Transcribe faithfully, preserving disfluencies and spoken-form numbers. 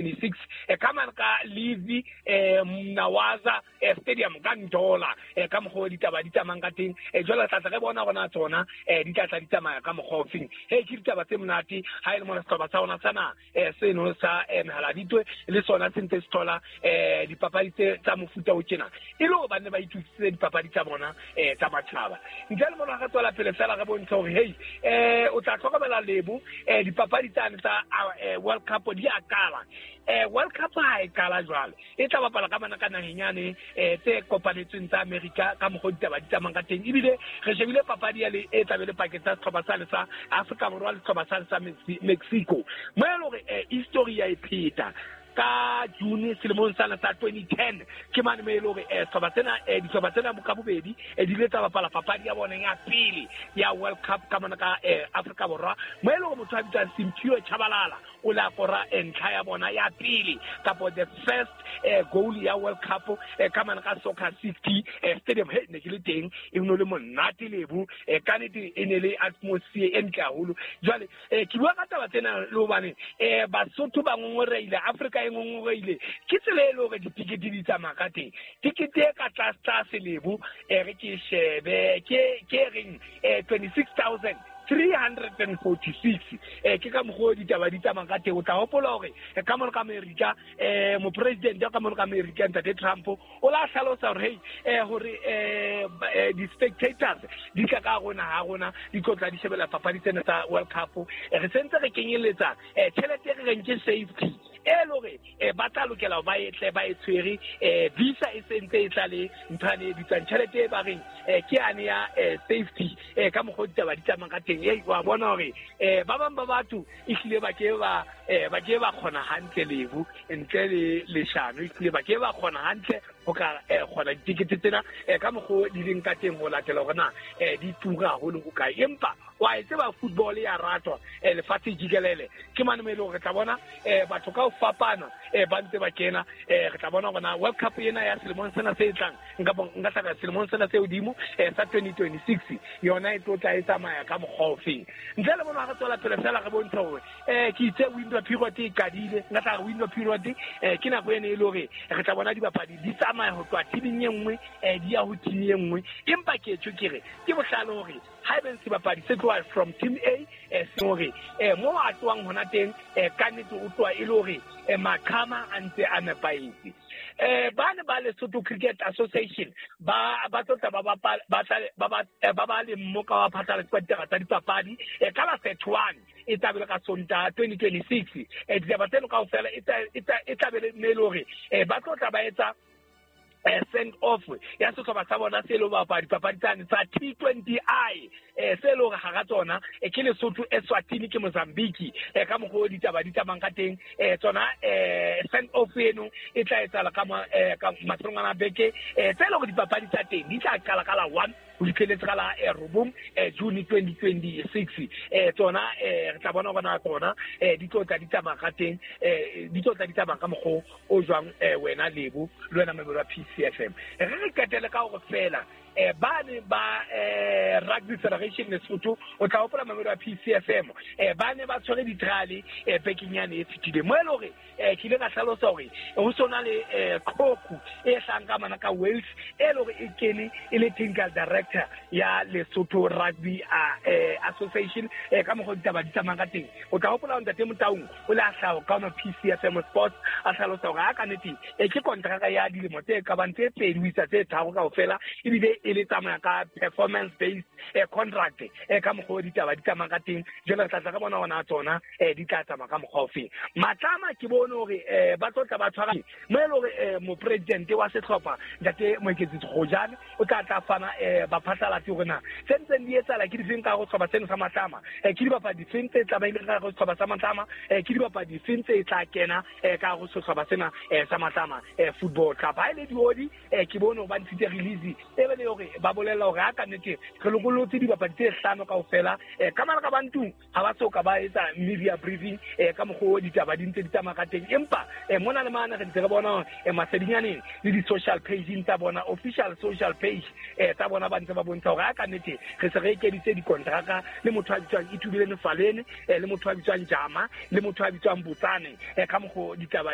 Six e ka mane ka Levy eh Mnawaza Stadium ka Ndola ka mokgwa ditaba di tsamayang ka teng. Jwale tla tla re bona rona tsona di tla tla di tsamaya ka mokgwa ofeng. He ke ditaba tse monate ha e le mona sehlopha sa rona sana seno sa Mehaladitwe le sona se ntse se thola dipapadi tse tsa mofuta o tjena e le hore ba ne ba itokisitse dipapadi tsa bona tsa matjhaba. Ntle le mona re tswela pele fela re bontsha hore hey eh o tla hlokomela lebo dipapadi tsane tsa World Cup di a qala. Eh World Cup ha e qala jwale e tla bapala ka bana ka naheng yane eh tse kopanetsweng tsa America ka mokgwa ditaba di tsamayang ka teng. Ebile re shebile papadi ya le e tla be le pakeng tsa sehlopha sa le sa Afrika Borwa le sehlopha sa le sa Mexico mo e leng hore history ya e pheta ka June selemong sa sa twenty ten ke mane mo e leng hore sehlopha tsena dihlopha tsena ka bobedi di ile tsa bapala papadi ya bona ya pele ya World Cup ka mona ka Afrika Borwa mo e leng hore motho a bitswang Simphiwe Tshabalala o la kora ntlha ya bona ya pele kapo the first goal ya World Cup ka mane ka Soccer City Stadium. He ne ke le teng e no le monate lebo ka nnete e ne le atmosphere e ntle haholo. Jwale ke bua ka taba tsena le hobane Basotho ba ngongoreile, Afrika e ngongoreile ke tsela e le hore ditikete di tsamaya ka teng. Tikete e ka tlase tlase lebo re ke shebe ke ke reng twenty-six thousand three hundred and forty-six eh ke ka mokgwa ditaba di tsamaya ka teng. O tla hopola hore ka mona ka America eh mopresident ka mona ka America Ntate Trump o la hlalosa hore hey eh hore eh di-spectators di tla ka rona ha rona di tlo tla di shebela papadi tsena tsa World Cup. Re sentse re kenyeletsa tjhelete e re reng ke safety e le hore ba tla lokela ba e tle ba e tshwere visa e sentse e tla le nthwane e bitswang tjhelete e ba reng ke yane ya safety ka mokgwa ditaba di tsamayang ka teng. Ei wa bona hore ba bang ba batho ehlile ba ke ba ba ke ba kgona hantle lebo ntle le leshano ehlile ba ke ba kgona hantle ho ka kgona ditikete tsena ka mokgwa di leng ka teng ho latela hore na di tura haholo ho kae. Empa wa e tseba football ya ratwa lefatshe jikelele ke mane mo e leng hore re tla bona batho ka ho fapana ba ntse ba kena. Re tla bona hore na World Cup ena ya selemong sena se tlang nka nka hlaka selemong sena se hodimo sa twenty twenty-six yona e tlo tla e tsamaya ka mokgwa ofeng. Ntle le bona re tswela pele fela re bontsha hore eh ke itse window period e qadile nka tla re window period eh ke nako ene e le hore re tla bona dibapadi di tsamaya ho tloha teaming e nngwe di ya ho team e nngwe. Empa ke tjho ke re ke bohlale hore haebe sebapadi se tloha from team A eh se hore eh mo a tloang hona teng ka nnete o tloha e le hore maqhama a ntse a nepahetse. Eh ba ne ba Lesotho Cricket Association ba ba tlotla ba ba ba ba ba le mmoka wa phatlalatso wa ditaba tsa dipapadi ka la thirty-one e tla be ka Sontaha twenty twenty-six. Eh ditaba tseno kaofela e tla be le hore ba tlotla ba etsa send off ya sehlopha sa bona se le bapadi papadi tsane tsa T twenty I eh se le hore hara tsona ke Lesotho, Eswatini ke Mozambique ka mokgwa ditaba di tsamayang ka teng. Tsona send off eno e tla etsahala ka ka mafelong a beke tse le hore dipapadi tsa teng di tla qala ka la one ho fihleletse ka la robong June twenty twenty-six. Tsona re tla bona hore na tsona di tlo tla di tsamaya ka teng di tlo tla di tsamaya ka mokgwa o jwang wena Lebo le wena member wa P C F M. Re re qetele ka hore fela eh ba ne ba eh Rugby Federation Lesotho o tla hopola member wa P C F M eh ba ne ba tshwere di-trial eh bekeng yane e fetileng mo e le hore eh ke ile ka hlalosa hore ho sona le qhoku e hlang ka mana ka Wales e le hore e kene e le technical director ya Lesotho Rugby Association ka mokgwa ditaba di tsamayang ka teng. O tla hopola Ntate Motaung o le a hlaha ka ona P C F M Sports a hlalosa hore a ka nnete e ke kontraka ya dilemo tse ka bang tse pedi ho isa tse tharo kaofela ebile e le tsamaya ka performance based contract ka mokgwa ditaba di tsamaya ka teng. Jwale re tla tla ka bona hona tsona di tla tsamaya ka mokgwa ofeng. Matlama ke bone hore ba tlo tla ba tshwara mo e le hore mopresidente wa sehlopha Ntate Moeketsi Kgojane o tla tla fana baphatlalatsi hore na tse ntseng di etsahala ke difeng ka ho sehlopha seno sa Matlama, ke dibapadi difeng tse tlamehileng ka ho sehlopha sa Matlama, ke dibapadi difeng tse tla kena ka ho sehlopha sena sa Matlama Football Club. Ha e le diodi ke bone hore ba ntshitse release e be le hore ba bolella hore ha ka nnete re lokollotse dibapadi tse hlano kaofela ka mara ka bantung ha ba soka ba etsa media briefing ka mokgwa ditaba di ntse di tsamaya ka teng. Empa mona le mane re ntse re bona masedinyaneng le di-social pageng tsa bona official social page tsa bona ba ntse ba bontsha hore ha ka nnete re se re ekeditse dikontraka le motho a bitswang Itubile Nefalene le motho a bitswang Jama le motho a bitswang Botsane ka mokgwa ditaba